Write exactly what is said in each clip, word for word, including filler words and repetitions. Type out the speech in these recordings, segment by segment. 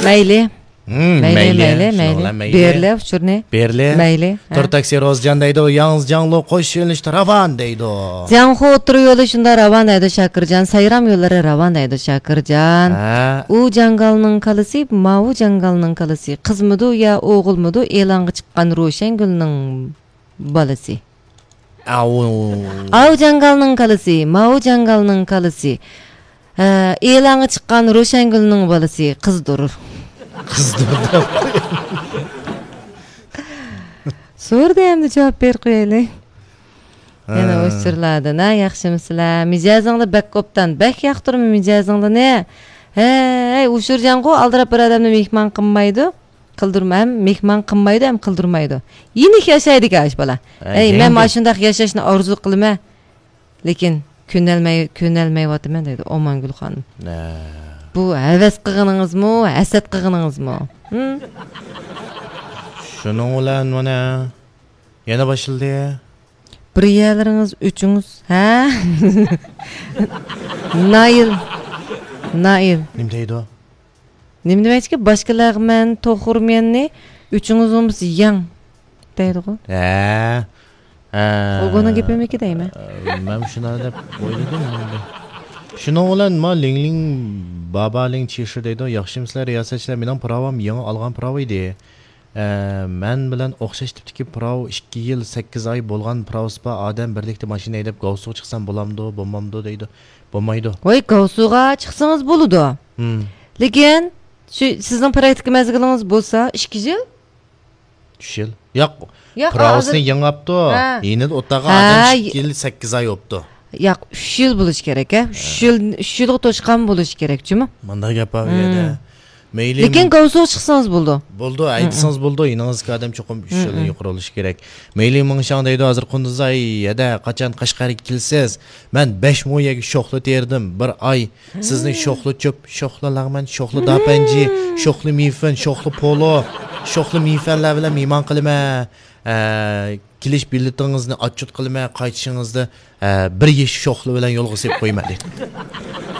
مەيلى. ھىم، مەيلى، مەيلى، مەيلى، شۇنىڭ مەيلى. بىلەن مەيلى. بېرىلە ئۇچۇرنى. بېرىلە. مەيلى. ھە. تور تاكسى روزجان دەيدۇ، ياڭزى جاڭلۇ قوش يۆنىلىشتە راۋان دەيدۇ. جياڭخۇ ئوتتۇرا يولى شۇنداق راۋان دەيدۇ، شاكىرجان. سايرام يوللىرى راۋان دەيدۇ، شاكىرجان. ھە. ئۇ جاڭگالنىڭ كالىسى، ماۋۇ جاڭگالنىڭ كالىسى. قىزمىدۇ يا ئوغۇلمىدۇ، ئېلانغا چىققان روشەنگۈلنىڭ بالىسى. ئاۋۇ. ئاۋۇ جاڭگالنىڭ كالىسى، ماۋۇ جاڭگالنىڭ كالىسى. ھە، ئېلانغا چىققان روشەنگۈلنىڭ بالىسى قىزدۇر. قىزدۇر دەپ. سورىدى ئەمدى جاۋاب بېرىپ قويايلى. ھە. يەنە ئۇچۇرلاردىن، ھە، ياخشىمۇسىلەر؟ مىجەزىڭلار بەك ئوبدان، بەك ياقتۇرىمەن مىجەزىڭلارنى. ھەي، ئۇچۇرجانغۇ ئالدىراپ بىر ئادەمنى مېھمان قىلمايدۇ. قىلدۇرما-، ھەم مېھمان قىلمايدۇ، ھەم قىلدۇرمايدۇ. يېنىك ياشايدىكەن ئاشۇ بالا. ھە، ئەي، مەن يەڭگە. مانا شۇنداق ياشاشنى ئارزۇ قىلىمەن. لېكىن كۆنەلمەي، كۆنەلمەيۋاتىمەن دەيدۇ ئومانگۈل خانىم. ھە. بۇ ھەۋەس قىلغىنىڭىزمۇ، ھەسەت قىلغىنىڭىزمۇ؟ ھىم؟ شۇنىڭ بىلەن مانا يەنە باشلىدى. بىر يەرلىرىڭىز ئۆچۈڭىز، ھە؟ نايىل. نايىل. نېمە دەيدۇ؟ نېمە دېمەكچىكى؟ باشقىلارغا مەن توخۇرمەننى ئۆچۈڭىز بولمىسا يەڭ دەيدىغۇ. ھە. ھە. ئۇ بۇنىڭ گېپىمىكى دەيمەن. مەن شۇنداق دەپ ئويلىدىم ئەمدى. شۇنىڭ بىلەن ما لىڭلىڭ بابا لىڭ چىشى دەيدۇ. ياخشىمۇسىلەر رىياسەتچىلەر؟ مېنىڭ پىراۋام يېڭى ئالغان پىراۋا ئىدى. ئە، مەن بىلەن ئوخشاش تىپتىكى پىراۋ، ئىككى يىل سەككىز ئاي بولغان پىراۋىسى بار ئادەم بىرلىكتە ماشىنا ھەيدەپ گاۋسۇغا چىقسام بولامدۇ، بولمامدۇ دەيدۇ. بولمايدۇ. ۋاي، گاۋسۇغا چىقسىڭىز بولىدۇ. ھىم. لېكىن شۇ سىزنىڭ پراكتىكا مەزگىلىڭىز بولسا ئىككى يىل. ئۈچ يىل. ياق، ياق، پىراۋىسىنى ھازىر يېڭىپتۇ. ھە. يېنىدا ئولتۇرغان ھە، ئادەم ي- ئىككى يىل سەككىز ئاي بوپتۇ. ياق، ئۈچ يىل بولۇشى كېرەك، ھە؟ ئۈچ يىل، ئۈچ يىلغا توشقان بولۇشى كېرەك جۇمۇ. مۇنداق گەپ بار بۇ يەردە. ھىم. مەيلى. لېكىن گاۋسۇغا چىقسىڭىز بولىدۇ. بولىدۇ، ھەيدىسىڭىز بولىدۇ، يېنىڭىزدىكى ئادەم چوقۇم ئۈچ يىلدىن يۇقىرى بولۇشى كېرەك. مەيلى مىڭشاڭ دەيدۇ، ھازىر قۇندۇزاي، ھەدە، قاچان قەشقەرگە كېلىسىز؟ مەن بەش مو يەرگە شوخلا تېرىدىم، بىر ئاي. سىزنى شوخلا چۆپ، شوخلا لەغمەن، شوخلا داپەنجى، شوخلا مىفېن، شوخلا پولو، شوخلا مىفەنلەر بىلەن مېھمان قىلىمەن. ئە، كېلىش بېلىتىڭىزنى ئاتچوت قىلىمەن، قايتىشىڭىزدا، ئە، بىر يېشىك شوخلا بىلەن يولغا سېلىپ قويىمەن دېدى.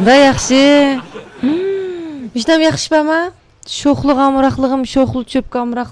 دا ياخشى. ھىم، ھېچنېمە ياخشى بارما؟ شوخلىغا ئامراقلىقىم، شوخلا چۆپكە ئامراق.